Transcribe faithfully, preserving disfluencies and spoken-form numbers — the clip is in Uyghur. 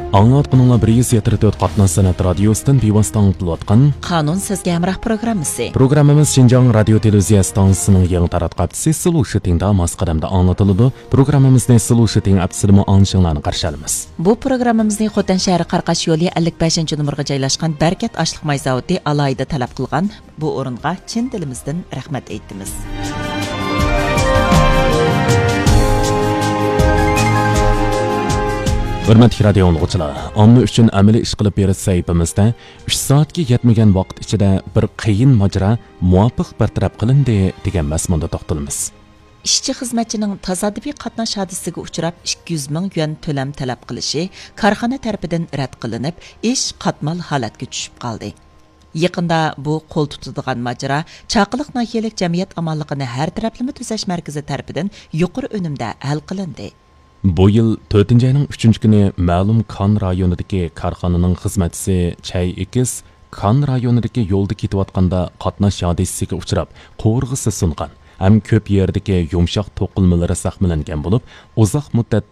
ئاڭلاۋاتقىنىڭلار بىر يۈز يەتتە تۆت قاتناش سەنئەت رادىيوسىدىن بىۋاسىتە ئاڭلىتىلىۋاتقان قانۇن سىزگە ھەمراھ پروگراممىسى. پروگراممىمىز شىنجاڭ رادىيو تېلېۋىزىيە ئىستانسىسىنىڭ يېڭى تاراتقۇ ھەپتىسى سلو شىتىڭدا ماس قەدەمدە ئاڭلىتىلىدۇ. پروگراممىمىزنى سلو شىتىڭ ئەپسىدىمۇ ئاڭلىشىڭلارنى قارشى ئالىمىز. بۇ پروگراممىمىزنى خوتەن شەھىرى قاراقاش يولى ئەللىك بەشىنچى نومۇرغا جايلاشقان بەرىكەت ئاشلىق ماي زاۋۇتى ئالاھىدە تەلەپ قىلغان. بۇ ئورۇنغا چىن دىلىمىزدىن رەھمەت ئېيتىمىز. ھۆرمەتلىك رادىيو ئاڭلىغۇچىلار، ئامما ئۈچۈن ئەمەلىي ئىش قىلىپ بېرىش سەھىپىمىزدە ئۈچ سائەتكە يەتمىگەن ۋاقىت ئىچىدە بىر قىيىن ماجىرا مۇۋاپىق بىر تەرەپ قىلىندى دېگەن مەزمۇندا توختىلىمىز. ئىشچى خىزمەتچىنىڭ تاسادىپىي قاتناش ھادىسىسىگە ئۇچراپ، ئىككى يۈز مىڭ يۈەن تۆلەم تەلەپ قىلىشى كارخانا تەرىپىدىن رەت قىلىنىپ، ئىش قاتمال ھالەتكە چۈشۈپ قالدى. يېقىندا بۇ قول تۇتىدىغان ماجىرا چاقىلىق ناھىيەلىك جەمئىيەت ئامانلىقىنى ھەر تەرەپلىمە تۈزەش مەركىزى تەرىپىدىن يۇقىرى ئۈنۈمدە ھەل قىلىندى. بۇ يىل تۆتىنچى ئاينىڭ ئۈچىنچى كۈنى مەلۇم كان رايونىدىكى كارخانىنىڭ خىزمەتچىسى چەي ئېكىس كان رايونىدىكى يولدا كېتىۋاتقاندا قاتناش ھادىسىسىگە ئۇچراپ، قوۋۇرغىسى سۇنغان ھەم كۆپ يەردىكى يۇمشاق توقۇلمىلىرى زەخىملەنگەن بولۇپ، ئۇزاق مۇددەت